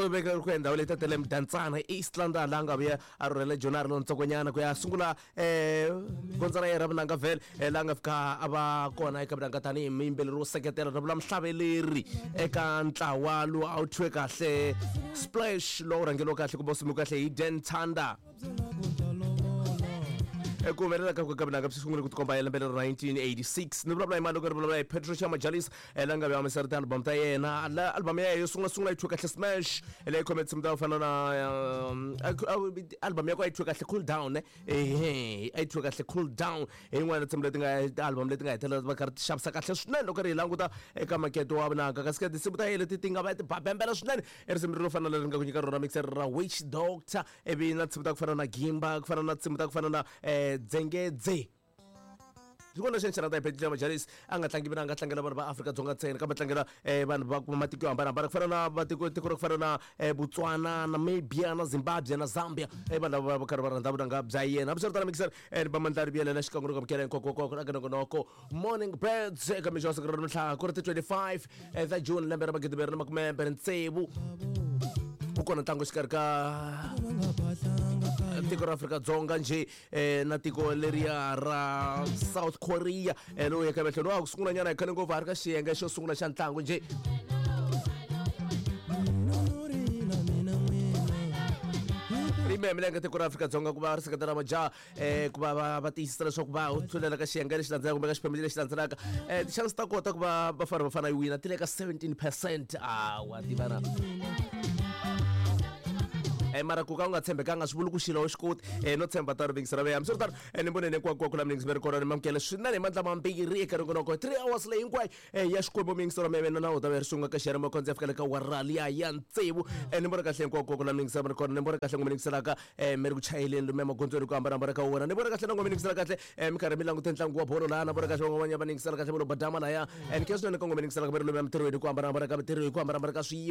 U veka ku ya ndhawu leyi tatele Mdantsane East London, laha nga vuya a rhurhela Joni a ri lontsongonyana ku ya sungula gondzo ra yena ra vunanga vhele, laha nga fika a va kona eka vunanga tanihi muyimbeleri wo seketela, na vula muhlaveleri eka ntlawa lowu a wu thyiwe kahle Splash, lowu rhangeriwa kahle kumbe wu simekiwe kahle hi Dan Tanda. Ku humelela ka ka vunanga swi sungule ku tikomba hi lembe lero 1986. Ni vulavula hi mali loko ni vulavula hi Patricia Majalis, la nga humesa ti-album ta yena. La album ya yena yo sungula sungula yi thyiwe kahle Smash, leyi khome tinsimu ta ku fana na album ya ku a yi thyiwe kahle Cool Down, ehe, a yi thyiwe kahle Cool Down, hi yin'wana ya tinsimu leti nga ti-album leti nga hetelela va karhi ti xavisa kahle swinene loko ri hi languta eka makete wa vunanga. Kasi ka tinsimu ta yena leti ti nga va ti babembela swinene i risimu ro fana na leri nga ku nyika rona mixer ra Witch Doctor, ivi na tinsimu ta ku fana na Gimba, ku fana na tinsimu ta ku fana na Dzengedze. Xin'wana lexi ni xi rhandza hi Patricia Majalis, a nga tlangi mina, a nga tlangela vanhu va Afrika-Dzonga ntsena, kambe tlangela vanhu va matiko yo hambanahambana, ku fana na matiko tiko ra ku fana na Botswana, Namibia na Zimbabwe na Zambia. Vanhu lava va karhi va rhandza vunanga bya yena. Hambiswiritano, mixer ni ba mandla ri vuyelela xikan'we ni ku amukela hinkwako aka nongonoko Morning Birds eka mixo wa siku ra namuntlha, ku ri ti 25 ta June lembe ra 2026. Ku kona ntlangu exikarhi ka tiko ra Afrika-Dzonga njhe na tiko leriya ra South Korea, lowu yaka emahlweni wa ku sungula nyana hi khale ngopfu, a ri ka xiyenge xo sungula xa ntlangu njhe. Ri milenge tiko ra Afrika-Dzonga ku va ri seketela majaha ku va va tiyisisa leswaku va tlhulela ka xiyenge lexi landzelaka kumbe ka xiphemu lexi landzelaka. Ti-chance ta kota ku va Bafana Bafana yi wina ti le ka 17%. A wa tivana, mara ku ka u nga tshembekanga swi vuli ku xilo xi koti no tshemba ta rivingisi ra veya. Hambiswiritano, ni voneni hinkwako la miningisi mi ri kona, ni mamukele swinene hi mandla mambirhi eka ringonoko 3 hours leyi hinkwayo ya Xikwembu. Miyingiselo ya mina na u ta ve ri sunga ka xiyari makhondzo ya fika le ka wara liya ya tsevu. Ni vona kahle hinkwako la miningisi mi ri kona, ni vona kahle n'wi mingiselaka mi ri ku chayeleni lomu emagondzweni ku hambanahambana ka wona, ni vona kahle na n'wi mingisela kahle mi karhi mi langute ntlangu wa bolo laha, na vona kahle van'wanyana va ningisela kahle volo badama laya. Ni khensa swinene ka n'wi mingiselaka mi ri lomu emitirhweni ku hambanahambana ka mitirho, hi ku hambanahambana ka swiyimo.